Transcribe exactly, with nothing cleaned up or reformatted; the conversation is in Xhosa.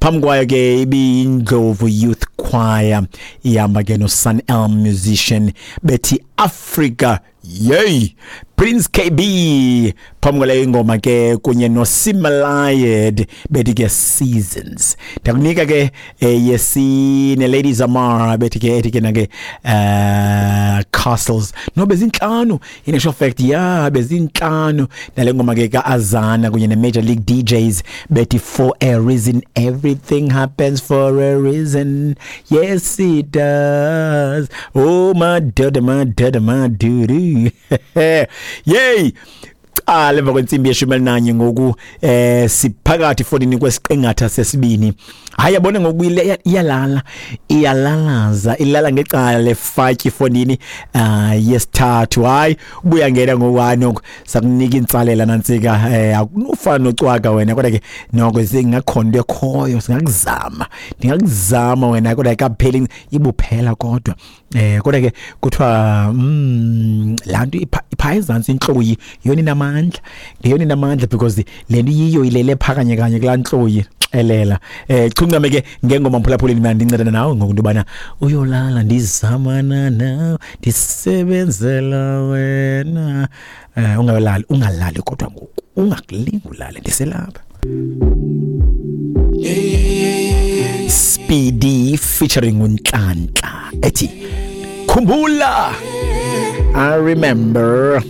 Phambi kwayo ke ibiyindlovu Youth Choir ihamba ke no Sun Elm Musician bethi Africa Yey. Prince K B phambi kwale ingoma ke kunye no Simalayed bethi ke Seasons. Ndakunika ke eh, yesine Ladies Amara bethi ke ethi ke nake eh Castles. No, bezinhlanu in actual fact, yeah, bezinhlanu nale ngoma ke kaAzana kunye ne Major League D Js bethi For a Reason. Everything happens for a reason, yes it does. Oh my dada my dada my dude. Yay. Ah, emva kwentsimbi yeshumi elinanye ngoku eh siphakathi fondini kwesiqingatha sesibini. Hayi, yabona ngoku iyalala, iyalalaza, ilala ngecala lefatyi fondini ah yesithathu. Hayi, ubuya ngena ngoku hayi noko sakunika intsalela nantsika eh akunofana nocwaka wena, kodwa ke noko singakhona into ekhoyo, singakuzama. Ndingakuzama wena kodwa kapheli ibuphela kodwa. Eh kodwa ke kuthiwa mm lanto ipha ezantsi intloyi yona inamandla, yona inamandla because le nto yiyo ilele phakanye kanye kulaa ntloyi xelela. Eh chuncame ke ngengoma mphulaphuleni, mina ndincedana nawe ngoku into yobana uyolala ndizamana nawe ndisebenzela wena. Eh ungalali, ungalali kodwa ngoku ungakulingi ulale, ndiselapha. Speedy featuring uNhlanhla ethi Khumbula. I remember.